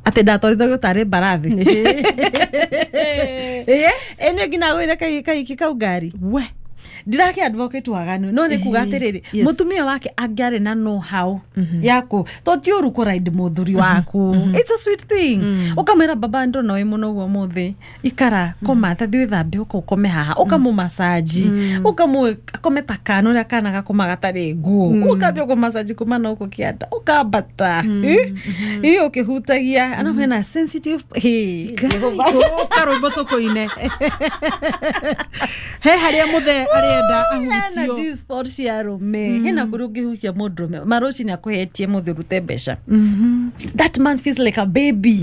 Atĩ ndatwarithagio tarĩ mbarathi. Ĩ nĩ nginya gwĩre kahiki kau ngari. We. Ndirake advocate waganu, no nĩ kuga atĩrĩrĩ, mũtumia wake angĩarĩ na know how yaku, to ti ũru kũride mũthuri waku. It's a sweet thing. Ũkamwĩra, "Baba, ndona wĩ mũno ũguo ũmũthĩ, ikara, koma, tathi wĩthambe, ũka ũkome haha." Ũkamũmacaji, ũkamũ akome ta kana ũrĩa kana gakoma gatarĩ nguo, ũkambia kũmacaji kuma na gũkũ kĩanda ũkambata ĩ ũkĩhutagia, arabu hena sensitive. Hey, Jehova. Karwĩmbo tũkũine he harĩa mũthe arenda Hena ahutio. G-spot cia arũme, hena kũrĩa ũngĩhutia mũndũrũme marũcinĩ akũhetie mũthĩ ũrute mbeca. That man feels like a baby.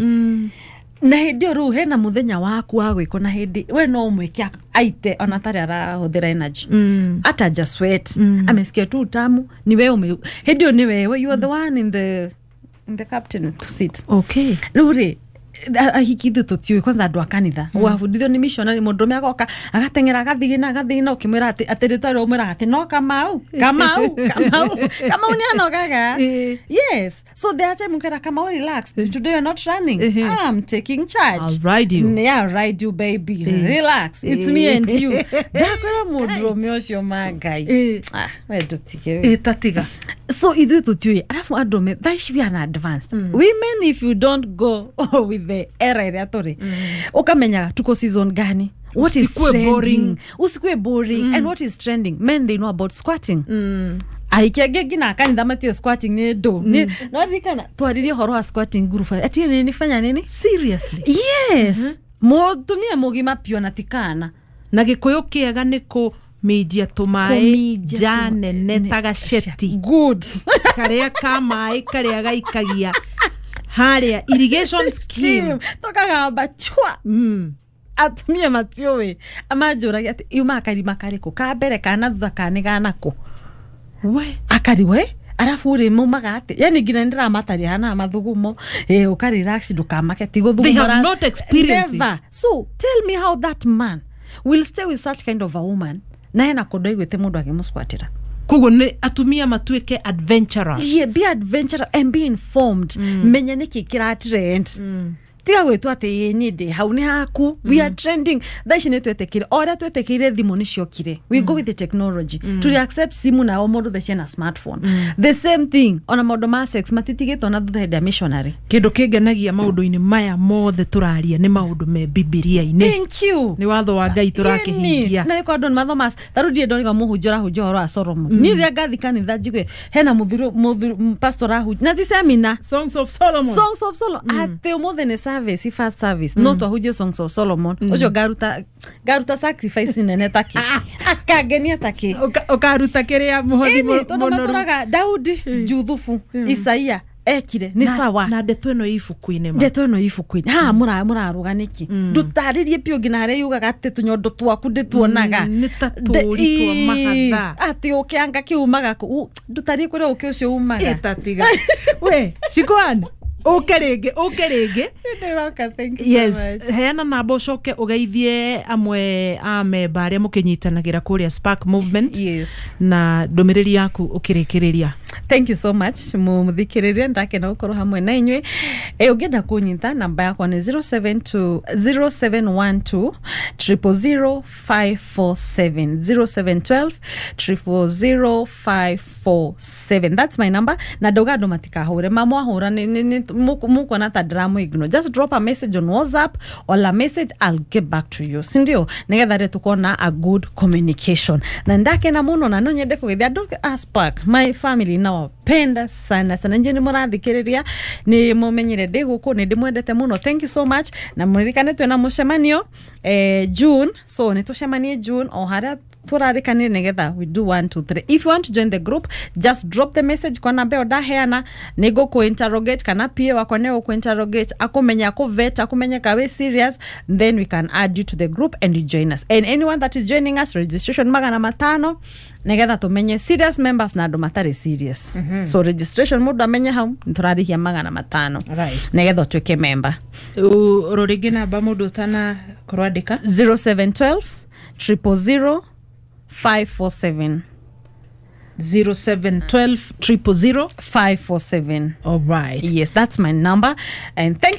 Na hĩndĩ ĩyo rĩu hena mũthenya waku wa gwĩkwo, na hĩndĩ we no ũmwĩke aite ona atarĩ arahũthĩra energy, hata ja sweat, amesikia tu utamu. Ni wewe ume hĩndĩ ĩyo nĩ wewe, you are the one in the captain seat. Rĩu rĩ, ahiki ithuĩ tũtiũĩ kwanza andũ a kanitha wabundithio nĩ missionary, mũndũrũme agoka agateng'era agathigina agathigina, ũkĩmwĩra atĩ atĩ rĩtwa rĩo ũmwĩraga atĩ no Kamau, Kamau, Kamau, Kamau nĩ anogaga. Yes, so there are time ũkera, "Kamau, relax, today you're not running. I'm taking charge. I'll ride you." Yeah, I'll ride you, baby. Relax, it's me and you." Ndakwĩra mũndũrũme ũcio ma Ngai. Ah, we ndũtige we. Ĩtatiga. So ithuĩ tũtiũĩ, arabu andũ me thaa ici we are advanced women. If you don't go with the era ĩrĩa tũrĩ, ũkamenyaga tuko season gani, what is Usikue trending. Boring. Usikue boring. And what is trending? Men, they know about squatting. Ahiki angĩ nginya kanitha matiũ squatting nĩ ndũ. No ririkana twaririe ũhoro wa squatting nguruba ati nini fanya nini. Seriously? Yes, mũtumia mũgima piũ na tikana. Na gĩkũyũ kĩega nĩ kũminjia tũmaĩ. Kũminjia nja nene ta gaceti. Good. Karĩa ka maĩ karĩa gaikagia harĩa irrigation scheme. Tũkagamba chwa. Atumia matiũĩ, amanjũragia atĩ yumaga karima karĩkũ ka mbere kana thutha kana nĩ ganakũ. We. Akariwe arabu rĩ maumaga atĩ yani nginya nĩndĩramataria hana mathugumo ĩ ũka relax, ndũkamake ti They have not experienced it. Never. So tell me how that man will stay with such kind of a woman na hena kũndũ aiguĩte mũndũ agĩmũsquatĩra. Koguo nĩ atumia matuĩke adventurous. Yeah, be adventurous and be informed. Menya nĩkĩ kĩra trend. Tiga gwĩtwo atĩ ĩ niĩ ndĩ hau nĩ haku. We are trending thaa ici, nĩ twetĩkire o ũrĩa twetĩkĩire thimũ nĩ ciokire. We go with the technology. Tũrĩ accept simu na o mũndũ thaa ciena smartphone. The same thing ona maũndũ ma sex matitigĩtwo na thutha hĩndĩ ya missionary. Kĩndũ kĩngenagia maũndũ-inĩ maya mothe tũraria nĩ maũndũ me Bibilia-inĩ. Thank you. Nĩ watho wa Ngai tũrakĩhingia. Na nĩ kwa andũ nĩ mathoma ta rĩu ndirĩ ndoriga mũhunjia ũrahunjia ũhoro wa Solomon. Niĩ rĩrĩa ngathi kanitha njigue hena mũthuri mũthuri pastor ahunjia na ti seminar. Songs of Solomon. Songs of Solomon, atĩ ũmũthĩ nĩ service, first service, no twahunjie Songs of Solomon, ũcio ngaruta ngaruta sacrifice nene taki akangenia taki. Ũkaruta kĩrĩa mũhothi Ĩni tondũ mũnoru. matũraga Daudi, Juthubu, Isaia ekire nĩ sawa. Na ndeto ĩno ĩ ibuku-inĩ ma. Ndeto ĩno ibuku-inĩ haha mũrarũga nĩkĩ? Ndũtarĩrie biũ nginya harĩa yugaga atĩ tũnyondo twaku ndĩtuonaga. Nĩ ta tũũri twa mahatha. Atĩ ũkĩanga kĩumaga kũ ndũtarĩrie kũrĩa ũkĩ ũcio umaga. Ĩtatiga we Shikwan, ũke rĩngĩ, ũke rĩngĩ. Ndĩroka, thank you so Yes. much. Heana namba ũcoke ũgeithie amwe a memba arĩa mũkĩnyitanagĩra kũrĩa Spark Movement. Yes. Na ndũmĩrĩri yaku ũkĩrĩkĩrĩria. Thank you so much mũthikĩrĩria, ndakena gũkorwo hamwe na inyuĩ. Ĩ ũngĩenda kũnyita, namba yakwa nĩ 072 0712 000 547, 0712 000 547. That's my number. Na ndauga andũ matikahũre, mamwahũra mũkuona ta ndĩramũ ignore. Just drop a message on WhatsApp or a message, I'll get back to you, sindio? Nĩgetha rĩ tukona a good communication. Na ndakena mũno na no nyende kũgeithia andũ a Spark, my family, nawapenda sana sana. Nje nĩ mũrathikĩrĩria, nĩ mũmenyire ndĩ gũkũ, nĩ ndĩmwendete mũno. Thank you so much. Na mũririkane twĩna mũcemanio June, so nĩ tũcemanie June o harĩa tũrarĩkanire nĩgetha we do 1 2 3. If you want to join the group, just drop the message kwa namba ĩyo ndaheana, nĩ ngũkũ interrogate kana PA wakwa nĩ gũkũ interrogate, akũmenya, akũvet, akũmenye ka wĩ serious, then we can add you to the group and you join us. And anyone that is joining us, registration 500 nĩgetha tũmenye serious members na andũ matarĩ serious. So registration, mũndũ amenye hau nĩ tũrarĩhia 500 nĩgetha ũtuĩke member. Oro rĩngĩ namba mũndũ ũtanakorwo andĩka. 0712 000 547. 0712 000 547. All right. Yes, that's my number. And thank you.